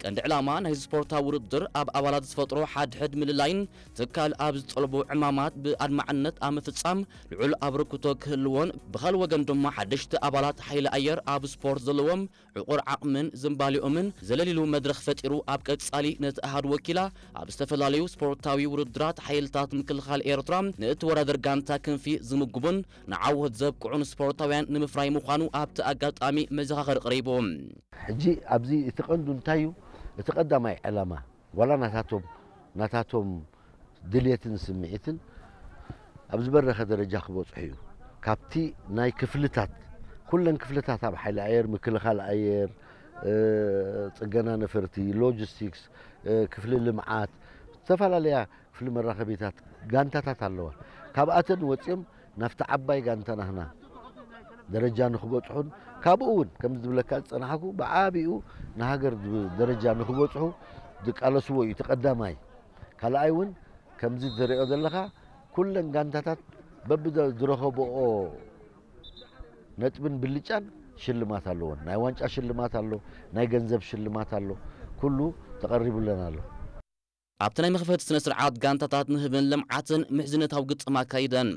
ቀንዲ ዕላማ ናይዚ ስፖርታዊ ውድድር ኣብ ኣባላት ዝፈጥሮ ሓድሕድ ምልላይን ትካል ኣብ ዝጠልቦ ዕማማት ብኣድማዕነት ኣብ ምፍጻም ልዑል ኣበርክቶ ክህልዎን ብኻልእ ወገን ድማ ሓደሽቲ ኣባላት ሓይሊ ኣየር ኣብ ስፖርት ዘለዎም ዕቑር ዓቕምን ዝንባሌኦምን ዘለሊሉ መድረኽ ፈጢሩ ኣብ ቀጻሊ ነቲ ኣሃዱ ወኪላ ኣብ ዝተፈላለዩ ስፖርታዊ ውድድራት ሓይልታት ምክልኻል ኤርትራ ንእትወዳደር ጋንታ ክንፊ ዝምግቡን ንዓወት ዘብቅዑን ስፖርታውያን ንምፍራይ ምዃኑ ኣብቲ ኣጋጣሚ መዘኻኸሪ ቀሪቡ። ሕጂ ኣብዚ እቲ ቀንዱ እንታይ እዩ? እቲ ቀዳማይ ዕላማ ዋላ ናታቶም ናታቶም ድልየትን ስምዒትን ኣብ ዝበረኸ ደረጃ ክበጽሑ እዩ። ካብቲ ናይ ክፍልታት ኩለን ክፍልታት ኣብ ሓይሊ ኣየር፣ ምክልኻል ኣየር፣ ጽገና ነፈርቲ፣ ሎጂስቲክስ፣ ክፍሊ ልምዓት፣ ዝተፈላለያ ክፍሊ መራኸቢታት ጋንታታት ኣለዋ። ካብኣተን ወጺኦም ናብቲ ዓባይ ጋንታ ናህና ደረጃ ንክበጽሑን ካብኡ እውን ከም ዝብለካ ዝጸናሕኩ ብዓቢኡ ንሃገር ደረጃ ንክበጽሑ ዝቃለስዎ እዩ። እቲ ቀዳማይ ካልኣይ እውን ከምዚ ዝሪኦ ዘለኻ ኩለን ጋንታታት በብዝረኸብኦ ነጥብን ብልጫን ሽልማት ኣለዎን። ናይ ዋንጫ ሽልማት ኣሎ፣ ናይ ገንዘብ ሽልማት ኣሎ፣ ኩሉ ተቐሪቡለን ኣሎ። ኣብቲ ናይ መኽፈቲ ስነ ስርዓት ጋንታታት ንህብን ልምዓትን ምሕዝነታዊ ግጥም ኣካይደን።